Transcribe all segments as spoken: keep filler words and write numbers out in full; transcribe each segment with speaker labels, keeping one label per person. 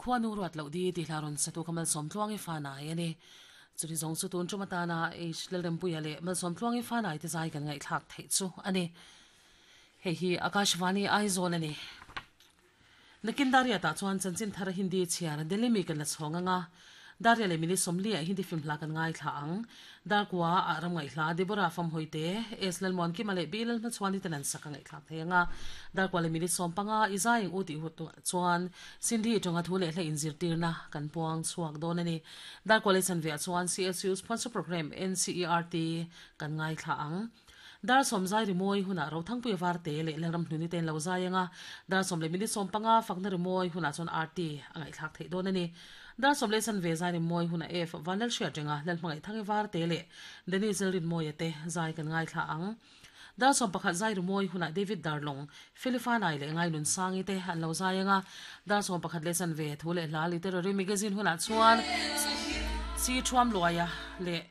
Speaker 1: Khuanu ruat loh di tih hla rawn satu kha Malsawmtluangi Fanai a ni. Chumi zawng chu tun tum atana H Lalrempuia leh Malsawmtluangi Fanai te zai kan ngaihthlak theih chu a ni. Hei hi Akashvani Aizawl a ni. Nakin Daria tah chuan chanchin thar Hindi chhiar Delhi mi kan la chhawng anga Daria leh Mini Sawmli ah Hindi film hla kan ngaithla ang. Darkua ah ram ngaihhla Deborah Famhawi te, S Lalmuan Kima leh B Lalhmachhuani ten an sak a ngaihthlak thei anga Darkua leh Mini Sawm panga i zai eng u tih hu chuan Sindhi tawnga thu leh hla inzirtirna kan puang chhuak dawn a ni. Darkua leh chanve ah chuan C S U sponsor program N C E R T kan ngaithla ang. Dar sawm zai rimawi hunah Rothangpuia Varte leh Lalram Hnuni te an lo zai ang a, dar sawm leh minute sawm panga fakna rimawi hunah chuan R T a ngaihthlak theih dawn a ni. Dar sawm leh chanve zai rimawi hunah F Vanlalhriat renga Lalhmangaih Varte leh Dennis Lalrinmawia te zai kan ngaithla ang. Dar sawm pakhat zai rimawi hunah David Darlong, Felifanai leh Ngainunsangi te an lo zai ang a, dar sawm pakhat leh chanve thu leh hla literary magazine hunah chuan C Thuamluaia leh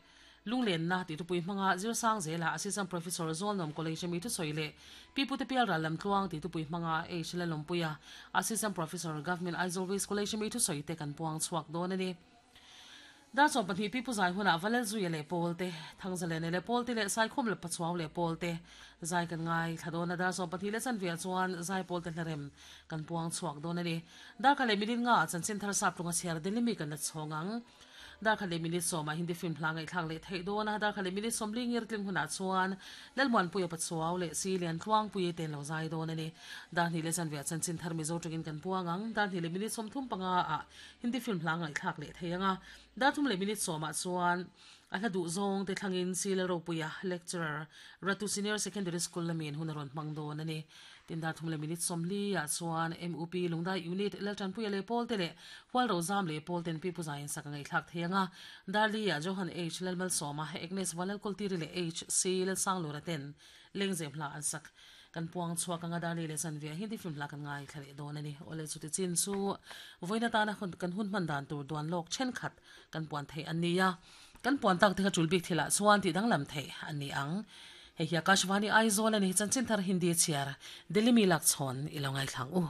Speaker 1: Lunglenna tih thupui hmanga Zirsang zela Assistant Professor Zawlnawm College ami thusawi leh Pi Pute Pial Ral Lamtluang tih thupui hmanga H Lalawmpuia Assistant Professor Government Aizawl West College ami thusawi te kan puang chhuak dawn a ni. Darchawm pahnih Pi Pu Zai hunah Valalzuia leh Pawl te, Thangzalene leh Pawl te leh Saikhum leh Pachuau leh Pawl te zai kan ngai thla dawn a, Darchawm pahnih leh chanve ah chuan Zaipawl te hlarem kan puang chhuak dawn a ni. Darkhat leh minute nga ah chanchin thar sap tlunga chhiar Delhi mi kan la chhawng ang. Darkhat leh minute sawmah Hindi film hla ngaihthlak leh theih dawn a, darkhat leh minute sawmli ngir tling hunah chuan Lalmuanpuia Pachuau leh Silian Tluangpuii te an lo zai dawn a ni. Darhnih leh chanve ah chanchin thar Mizo tawngin kan puang ang. Darhnih leh minute sawmthum panga ah Hindi film hla ngaihthlak leh thei ang a, darthum leh minute sawmah chuan a hla duh zawng te thlangin Sila Ropuia, Lecturer, Ratu Senior Secondary School lamin hun a rawn hmang dawn a ni. Tin dar thum leh minute sawmli ah chuan M U P Lungdai Unit Laltanpuia leh Pawl te leh Hualro Zam leh Pawl ten Pi Pu Zaiin sak a ngaihthlak thei ang a, Darli ah Johan H Lalmalsawma, Agnes Vanlalkultiri leh H C Lalsanglura ten Lengzem hla an sak. Kan puang chhuak anga Darli leh Chanve ah Hindi film hla kan ngaithla leh dawn a ni. Awle chuti chin chu vawiin atana kan hun hman dan tur duan lawk thenkhat kan puan theih an ni a, kan puan tak te kha tul bik thilah chuan tih danglam theih an ni ang. Hei hi Akashvani Aizawl a ni, chanchin thar Hindi chhiar Delhi mi lak chhawn i lo ngaithlang u.